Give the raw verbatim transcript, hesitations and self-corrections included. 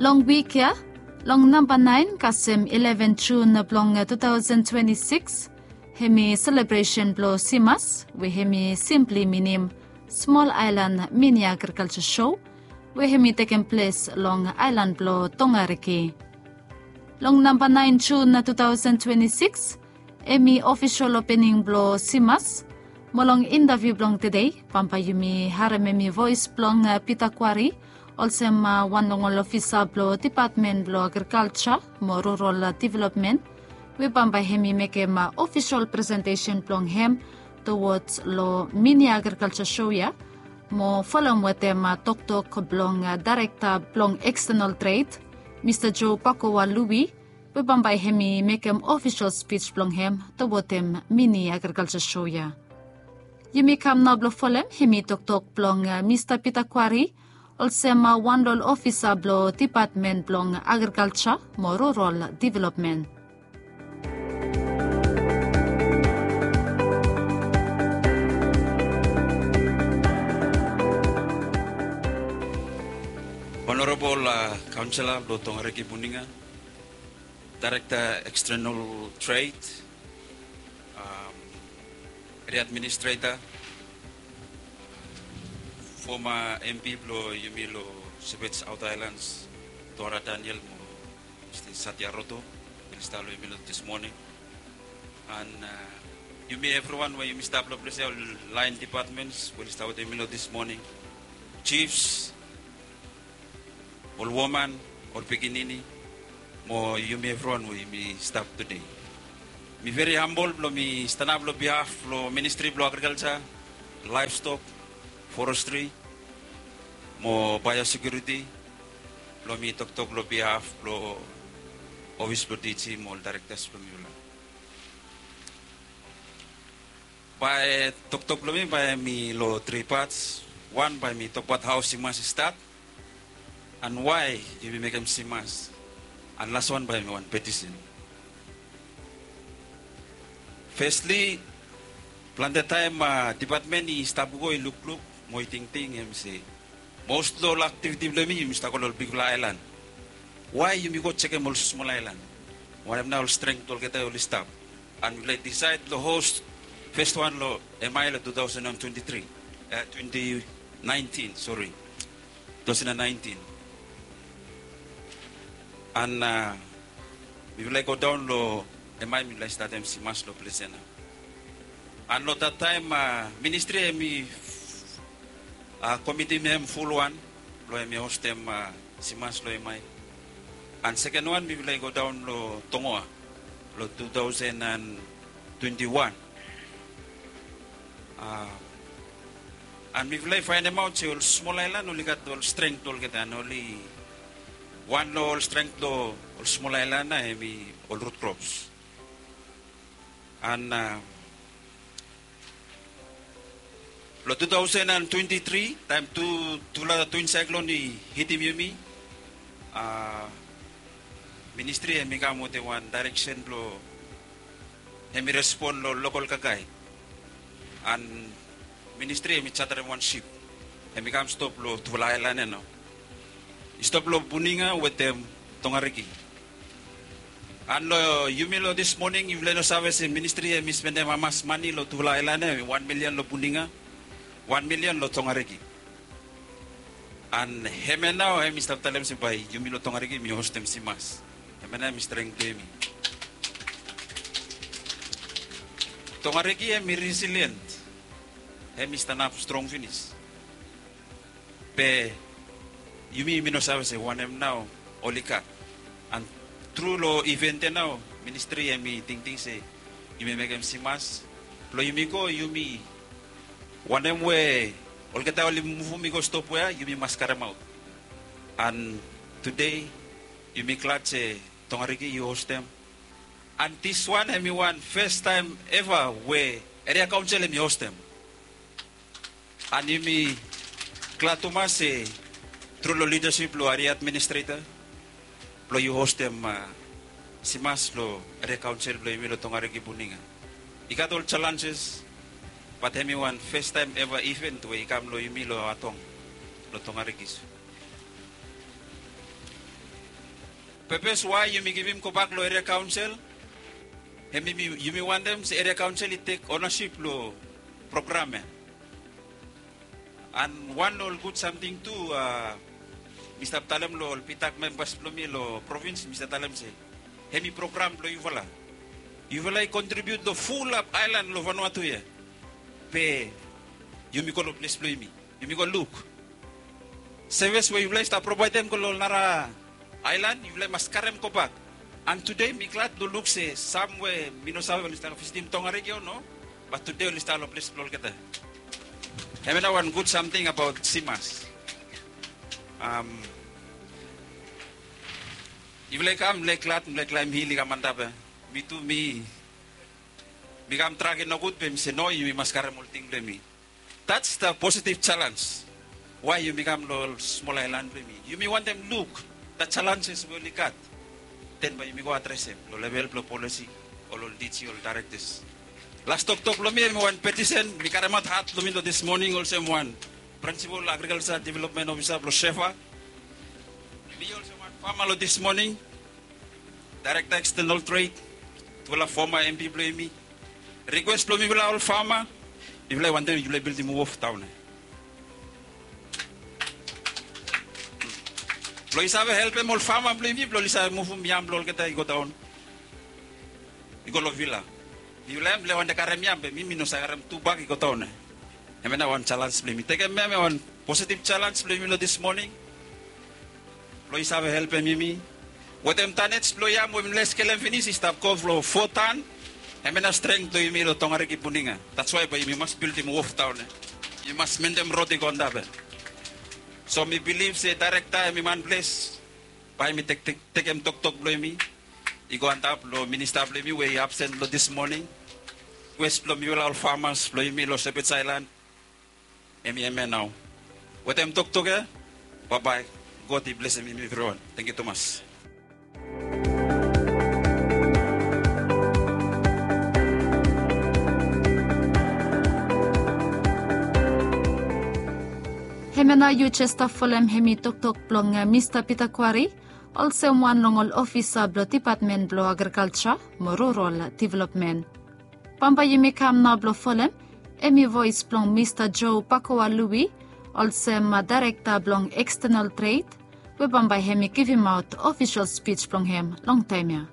Long wik ya, long namba naen kasem ileven Jun blong tu taosen twenti sikis, hemi selebresen blong Simas, we hemi simpli minim Smol Aelan Mini Agrikalja Sho, we hemi tekem ples long aelan blong Tongariki. Long namba naen Jun tu taosen twenti sikis, hemi ofisol opening blong Simas. Mo long intaviu blong tede, bambae yumi harem hemi voes blong Pita Kwari, olsem wan long ol ofisa blong Depatmen blong Agrikalja mo Rural Developmen, we bambae hemi mekem ofisol presentesen blong hem towards long Mini Agrikalja Sho ya, mo folem wetem toktok blong Daerekta blong Ekstenal Tred, Mista Joe Pakoa Lui, we bambae hemi mekem ofisol spij blong hem towards Mini Agrikalja Sho ya. Yumi kam nao blong folem hemi toktok blong Mista Pita Kwari, olsem wan long ol ofisa blong Depatmen blong Agrikalja mo Rural Developmen. Onorabol kaonsela blong Tongariki Buninga, Daerekta Ekstenal Tred, Eria Administreta, foma MP blong yumi long Sepej Aota Aelans, Tuara Daniel mo Mista Satya Roto, we oli stap long yumi long dis moning. An yumi evriwan we yumi stap long ples ya, ol laen depatmens we oli stap wetem yumi long dis moning, jifs, ol woman, ol pikinini, mo yumi evriwan we yumi stap tede. Mi veri hambol blong mi stanap long bihaf blong Ministri blong Agrikalja, Laevstok, Forestri mo Baeosekiuriti blong mi toktok long bihaf blong ofis blong DG mo ol daerektas blong mifala. Bae toktok blong mi bae hemi long tri pats. Wan, bae mi tokbaot hao Simas i stat, an wae yumi mekem Simas. An laswan bae hemi wan petisen. Fesli, plante taem depatmen i stap go i lukluk mo i tingting hemi se, mos long ol aktiviti blong yumi, yumi stap go long ol bigfala aelan. Wae yumi go jekem ol smol aelan? Wanem nao ol strength blong olgeta oli stap? An mifala i disaed long hos fes wan long MI long tu taosen an twenti tri, e, twenti naentin, sori. Tu taosen an naentin. An mifala i godaon long MI, mifala i statem Simas long ples ya nao. An long dat taem ministri hemi komitim hem fulwan blong hemi hostem Simas long MI. An seken wan mifala i godaon long Tongoa long tu taosen an twenti wan. An mifala i faenemaot se ol smol aelan oli gat ol strength blong olgeta, an oli, wan long ol strength blong ol smol aelan nao hemi ol root crops. An long tu taosen an twenti tri, taem tu, tufala twin cyclone i hitim yumi, ministri hemi kam wetem wan daereksen blong hemi respon long lokol kakae. An ministri hemi jatarem wan sip, hemi kam stop long tufala aelan ya nao. I stop long Buninga wetem Tongariki. An long yumi long dis moning, yufala i no save se ministri hemi spendem hamas mane long tufala aelan ya, wan milian long Buninga, wan milian long Tongariki. An hemia nao hemi stap talem se bae yumi long Tongariki yumi hostem Simas. Hemia nao hemi strength blong yumi. Tongariki hemi resilient, hemi stanap strong finis. Be yumi, yumi no save se wanem nao oli gat. An tru long event ya nao, ministri hemi tingting se yumi mekem Simas blong yumi go, yumi, wanem we olgeta oli muvum i go stop we ya, yumi mas karemaot. An tede yumi glad se Tongariki i hostem. An diswan hemi wan fes taem eva we eria kaonsel hemi hostem. An yumi glad tumas se tru long lidasip blong eria administreta blong yu hostem Simas long eria kaonsel blong yumi long Tongariki Buninga. I gat ol jalanjes, bat hemi wan fes taem eva event we i kam long yumi long Atong, long Tongariki. Pepes wae yumi givim gobak long eria kaonsel, hem yumi wantem se eria kaonsel i tek onasip long program ya. An wan long ol gud samting tu, mi stap talem long ol pitak membas blong mi long provins, mi stap talem se hem i program blong yufala. Yufala i kontribiut long fulap aelan long Vanuatu ya. Be yumi go long ples blong yumi, yumi go luk sevis we yufala i stap provaedem go long nara aelan, yufala i mas karem gobak. An tude mi glad long luk se sam we mi no save oli stap visitim Tongariki o no, bat tude oli stap long ples blong olgeta. Hemia nao wan gud samting abaot simas. Yufala i kam, mifala i glad, mifala i klaem hil i kam antap ya. Mi tu mi mi kam trak i nogud be mi se no, yumi mas karem ol ting blong yumi. That's the positive challenge. Wae yumi kam long ol smol aelan blong yumi, yumi wantem luk the challenges we oli gat, den bae yumi go adresem long level blong polisi, ol ol diji, ol daerektas. Las toktok blong mi hem i wan petisen mi karemaot hat blong mi long dis moning olsem wan prinsipol agrikalsa developmen ofisa blong SEFA. Mi olsem wan fama long dis moning, daerekta ekstenal tred, tufala foma MP blong yumi, rikwes blong mifala ol fama, mifala i wantem yufala i bildim wof daon ya blong i save helpem ol fama blong yumi blong oli save muvum yam blong olgeta i go daon, i go long vila. Mifala hem mifala i wantem karem yam be mi mi no save karem tu bak i go daon ya. Hemia nao wan jalens blong yumi tekem ya, hemia wan positiv jalens blong yumi long dis moning blong i save helpem yumi wetem tanets blong yam we mifala i skelem finis i stap go long fo tan. Hemia nao streng blong yumi long Tongariki, Puninga. That's wae bae yumi mas bildim wof daon ya. Yumi mas mentem rod i go antap ya. So mi bilif se daerekta hem i manples bae hem i tekem toktok blong yumi i go antap long minista blong yumi we i absen long dis moning. Rikwes blong mifala ol famas blong yumi long Sepets Aelan hem i hemia nao. Wetem toktok ya, baebae. God i blesem yumi evriwan. Tangkiu tumas. Hemia nao yu jes stap folem hem i toktok blong Mista Pita Kwari, olsem wan long ol ofisa blong dipatmen blong agrikalja mo rural developmen. Bambae yumi kam nao blong folem hem i voes blong Mista Joe Pakoa Lui, olsem daerekta blong ekstenal tred, we bambae hem i givimaot ofisol spij blong hem long taem ya.